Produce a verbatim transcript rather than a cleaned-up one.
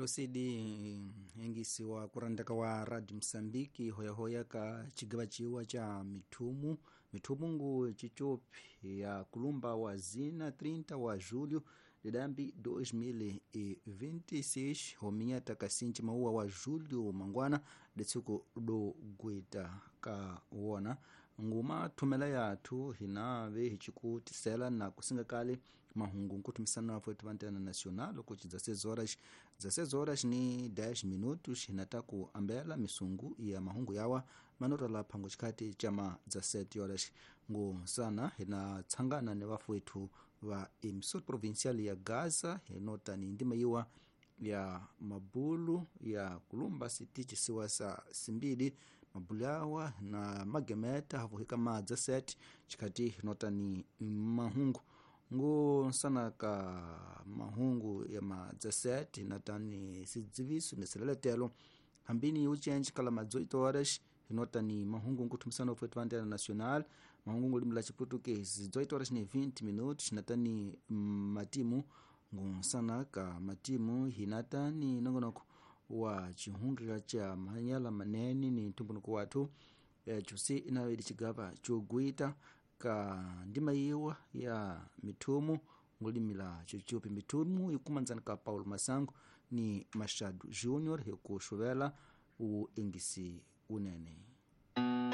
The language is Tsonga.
Ilosidi engisi wa kurandaka wa Radio Msambiki hoyahoya ka chigaba chiwa cha mithumu mithumungu chichopi ya kulumba wa zina trinta wa julho de dambi dois mil e vinte e seis hominya takasinchi mauwa wa julho mangwana detsuku do gwita ka wona nguma thumela yathu hinave hichikutisela na kusinga kale mahungu nkutumisana afu etu nacional kuti dezesseis horas dezesseis horas ni dez minutos hinataku ambela misungu ya mahungu yawa manotala phango chikati chama dezessete horas ngu sana hinatsangana ni vafu ethu va emissora provincial ya Gaza hinota ni ndima iwa ya mabulu ya kulumba siti chisiwa sa simbili mabulu yawa na magemeta havuhika ma dezessete chikati hinota ni mahungu ngu nsana ka mahungu ya ma dezessete hinatani sidziviso ni sileletelo hambini uchenji kala ma dezoito horas hinota ni mahungu nkuthumisana ofwetu va antena nacional mahungu ngulimi la chiputukezi dezoito horas ni vinte minutos hinatani matimu ngunsana ka matimu hinatani nongonoko wa chihungila cha manyala manene ni ntumbunuko wathu e, chusi inawedi chigaba chogwita ka ndima iwa ya mithumu ngulimila chuchupi mithumu ikumanzana ka Paulo Masango ni Machado Júnior hikuxuvela u engisi unene.